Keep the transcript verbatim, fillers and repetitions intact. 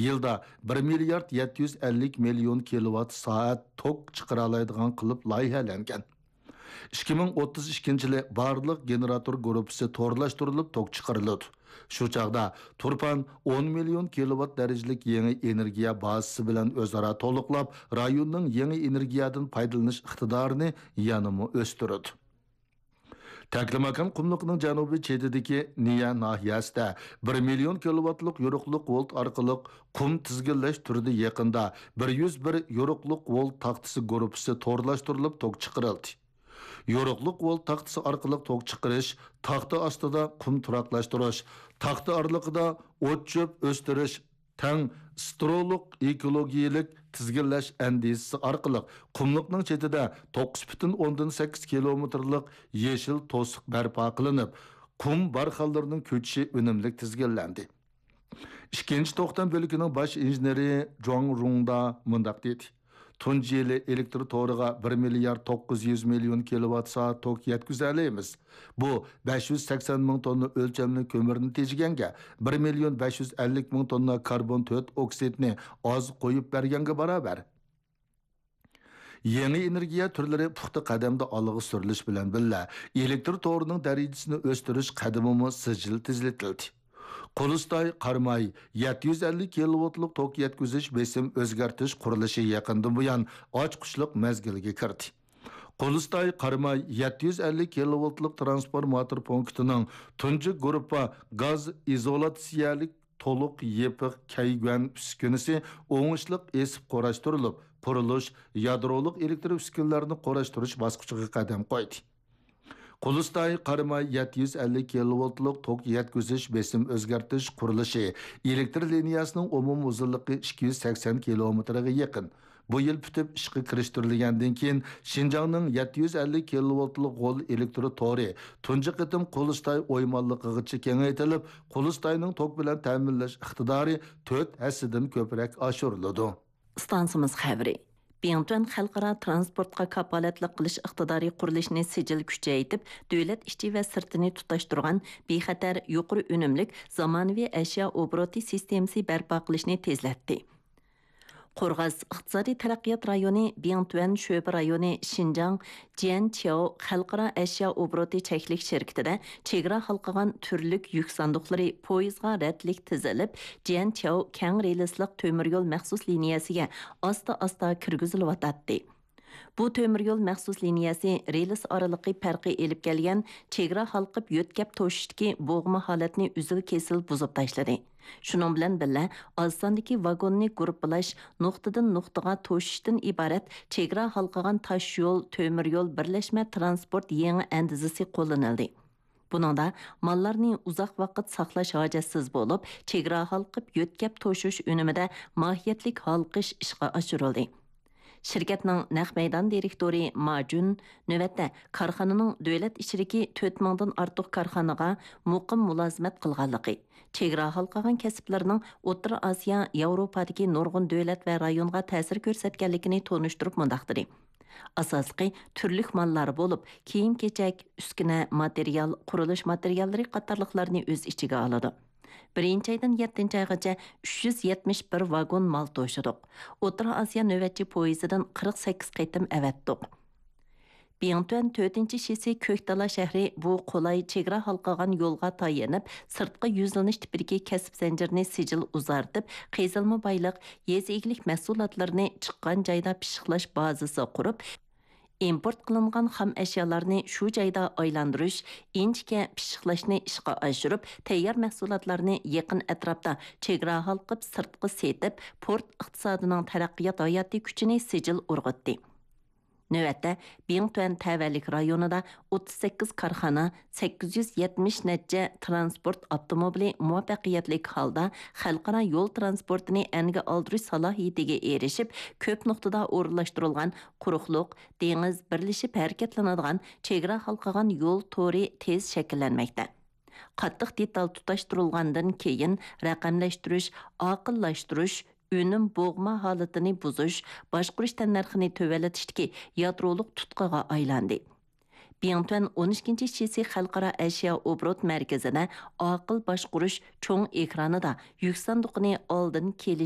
يىلدا بىر مىليارد يەتتە يۈز ئەللىك مىليون كىلوۋات سائەت توك چىقىرالايدىغان قىلىپ لايىھەلەنگەن. ئىككى مىڭ ئوتتۇز ئىككىنچى يىلى بارلىق گېنېراتور گۇرۇپپىسى تورلاشتۇرۇلۇپ توك چىقىرىلىدۇ. شۇ چاغدا تۇرپان ئون مىليون كىلوۋات دەرىجىلىك يېڭى ئېنېرگىيە بازىسى بىلەن ئۆزئارا تولۇقلاپ، رايوننىڭ يېڭى ئېنېرگىيەدىن پايدىلىنىش ئىقتىدارىنى يەنىمۇ ئۆستۈرىدۇ. تەكلىماكان قۇملۇقىنىڭ جەنۇبىي چېتىدىكى نىيە ناھىيەسىدە بىر مىليون كىلوۋاتلىق يورۇقلۇق ۋولت ئارقىلىق قۇم تىزگىنلەش تۈرىدە يېقىندا بىر يۈز بىر يورۇقلۇق ۋولت تاختىسى گۇرۇپپىسى تورلاشتۇرۇلۇپ توك چىقىرىلدى. يورۇقلۇق ۋولت تاختىسى ئارقىلىق توك چىقىرىش تاختا ئاستىدا قۇم تۇراقلاشتۇرۇش، تاختا ئارىلىقىدا ئوت-چۆپ ئۆستۈرۈش، تەڭ سترولۇق ئېكولوگىيەلىك تىزگىنلەش ئەندىزىسى ئارقىلىق قۇملۇقنىڭ چېتىدە توققۇز پۈتۈن ئوندىن سەككىز كىلومېتىرلىق يېشىل توسۇق بەرپا قىلىنىپ، قۇم بارخانلىرىنىڭ كۆچۈشى ئۈنۈملۈك تىزگىنلەندى. ئىككىنچى توختام بۆلىكىنىڭ باش ئىنژېنېرى جۇاڭ رۇڭدا مۇنداق دېدى: تۇنجى يىلى ئېلېكتر تورىغا بىر مىليارد توققۇز يۈز مىليون كىلوۋات سائەت توك يەتكۈزەلەيمىز. بۇ بەش يۈز سەكسەن مىڭ توننا ئۆلچەملىك كۆمۈرنى تېجىگەنگە، بىر مىليون بەش يۈز ئەللىك مىڭ توننا كاربون تۆت ئوكسىدنى ئاز قويۇپ بەرگەنگە باراۋەر. يېڭى ئېنېرگىيە تۈرلىرى پۇختا قەدەمدە ئالغا سۈرۈلۈش بىلەن بىللە، ئېلېكتر تورىنىڭ دەرىجىسىنى ئۆستۈرۈش قەدىمىمۇ سىجىل تېزلىتىلدى. قۇلۇستاي قاراماي يەتتە يۈز ئەللىك كىلوۋولتلۇق توك يەتكۈزۈش بېسىم ئۆزگەرتىش قۇرۇلۇشى يېقىندىن بۇيان ئاچقۇچلۇق مەزگىلگە كىردى. قۇلۇستاي قاراماي يەتتە يۈز ئەللىك كىلوۋولتلۇق ترانسفورماتور پونكىتىنىڭ تۇنجى گۇرۇپپا گاز ئىزولياتسىيەلىك تولۇق يېپىق كەيگۈەن ئۈسكۈنىسى ئوڭۇشلۇق ئېسىپ قۇراشتۇرۇلۇپ، قۇرۇلۇش يادرولۇق ئېلېكتر ئۈسكۈنىلەرنى قۇراشتۇرۇش باسقۇچىغا قەدەم قويدى. قۇلۇستاي قاراماي يەتتە يۈز ئەللىك كىلوۋولتلۇق توك يەتكۈزۈش بېسىم ئۆزگەرتىش قۇرۇلۇشى ئېلېكتر لىنىيەسىنىڭ ئومۇمىي ئۇزۇنلۇقى ئىككى يۈز سەكسەن كىلومېتىرغا يېقىن. بۇ يىل پۈتۈپ ئىشقا كىرىشتۈرۈلگەندىن كېيىن، شىنجاڭنىڭ يەتتە يۈز ئەللىك كىلوۋولتلۇق غول ئېلېكتر تورى تۇنجى قېتىم قۇلۇستاي ئويمانلىقىغىچە كېڭەيتىلىپ، قۇلۇستاينىڭ توك بىلەن تەمىنلەش ئىقتىدارى تۆت ھەسسىدىن كۆپرەك ئاشۇرۇلىدۇ. ئىستانسىمىز خەۋىرى. بىڭتۈەن خەلقئارا ترانسپورتقا كاپالەتلىك قىلىش ئىقتىدارى قۇرۇلۇشىنى سىجىل كۈچەيتىپ، دۆلەت ئىچى ۋە سىرتىنى تۇتاشتۇرغان بىخەتەر، يۇقىرى ئۈنۈملۈك، زامانىۋى ئەشيا ئوبوروتى سىستېمىسى بەرپا قىلىشنى تېزلەتتى. قورغاس ئىقتىسادىي تەرەققىيات رايونى بىڭتۈەن شۆبە رايونى شىنجاڭ جيەنچياۋ خەلقئارا ئەشيا ئوبوروتى چەكلىك شىركىتىدە چېگرا ھالقىغان تۈرلۈك يۈك ساندۇقلىرى پويىزغا رەتلىك تىزىلىپ، جيەنچياۋ كەڭ رېلىسلىق تۆمۈر يول مەخسۇس لىنىيەسىگە ئاستا-ئاستا كىرگۈزۈلۈۋاتاتتى. بۇ تۆمۈر يول مەخسۇس لىنىيەسى رېلىس ئارىلىقى پەرقى ئېلىپ كەلگەن چېگرا ھالقىپ يۆتكەپ توشۇشتىكى بوغما ھالەتنى ئۈزۈل-كېسىل بۇزۇپ تاشلىدى. شۇنىڭ بىلەن بىللە، ئاز ساندىكى ۋاگوننى گۇرۇپپىلاش، نۇقتىدىن نۇقتىغا توشۇشتىن ئىبارەت چېگرا ھالقىغان تاش يول، تۆمۈر يول بىرلەشمە ترانسپورت يېڭى ئەندىزىسى قوللىنىلدى. بۇنىڭدا ماللارنى ئۇزاق ۋاقىت ساقلاش ھاجەتسىز بولۇپ، چېگرا ھالقىپ يۆتكەپ توشۇش ئۈنۈمىدە ماھىيەتلىك ھالقىش ئىشقا ئاشۇرۇلدى. شىركەتنىڭ نەق مەيدان دىرېكتورى ما جۈن نۆۋەتتە كارخانىنىڭ دۆلەت ئىچىدىكى تۆت مىڭدىن ئارتۇق كارخانىغا مۇقىم مۇلازىمەت قىلغانلىقى، چېگرا ھالقىغان كەسىپلەرنىڭ ئوتتۇرا ئاسىيا، ياۋروپادىكى نۇرغۇن دۆلەت ۋە رايونغا تەسىر كۆرسەتكەنلىكىنى تونۇشتۇرۇپ مۇنداق دېدى: ئاساسلىقى تۈرلۈك ماللار بولۇپ، كىيىم-كېچەك، ئۈسكۈنە، ماتېرىيال، قۇرۇلۇش ماتېرىياللىرى قاتارلىقلارنى ئۆز ئىچىگە ئالىدۇ. بىرىنچى ئايدىن يەتتىنچى ئايغىچە ئۈچ يۈز يەتمىش بىر ۋاگون مال توشىدۇق. ئوتتۇرا ئاسىيا نۆۋەتچى پويىزىدىن قىرىق سەككىز قېتىم ئەۋەتتۇق. بىڭتۈەن تۆتىنچى شىسى كۆكتالا شەھىرى بۇ قولاي چېگرا ھالقىغان يولغا تايىنىپ، سىرتقا يۈزلىنىش تىپىدىكى كەسىپ زەنجىرىنى سىجىل ئۇزارتىپ، قېزىلما بايلىق، يېزا ئىگىلىك مەھسۇلاتلىرىنى چىققان جايدا پىششىقلاش بازىسى قۇرۇپ، ئىمپورت قىلىنغان خام ئەشيالارنى شۇ جايدا ئايلاندۇرۇش، ئىنچىكە پىششىقلاشنى ئىشقا ئاشۇرۇپ، تەييار مەھسۇلاتلارنى يېقىن ئەتراپتا چېگرا ھالقىپ سىرتقا سېتىپ، پورت ئىقتىسادىنىڭ تەرەققىيات ھاياتى كۈچىنى سىجىل ئۇرغۇتتى. نۆۋەتتە، بىڭتۈەن تەۋەلىك رايونىدا ئوتتۇز سەككىز كارخانا، سەككىز يۈز يەتمىش نەچچە تىرانسپورت ئاپتوموبىلى مۇۋەپپەقىيەتلىك ھالدا خەلقئارا يول تىرانسپورتىنى ئەنگە ئالدۇرۇش سالاھىيىتىگە ئېرىشىپ، كۆپ نۇقتىدا ئورۇنلاشتۇرۇلغان قۇرۇقلۇق، دېڭىز بىرلىشىپ ھەرىكەتلىنىدىغان چېگرا ھالقىغان يول تورى تېز شەكىللەنمەكتە. قاتتىق دېتال تۇتاشتۇرۇلغاندىن كېيىن، رەقەملەشتۈرۈش، ئاقىللاشتۇرۇش، ئۈنۈم بوغما ھالىتىنى بۇزۇش، باشقۇرۇش تەننەرخىنى تۆۋەنلىتىشتىكى يادرولۇق تۇتقىغا ئايلاندى. بىڭتۈەن ئون ئىككىنچى شىسى خەلقئارا ئەشيا ئوبوروت مەركىزىدە ئاقىل باشقۇرۇش چوڭ ئېكرانىدا يۈك ساندۇقىنى ئالدىن كېلىش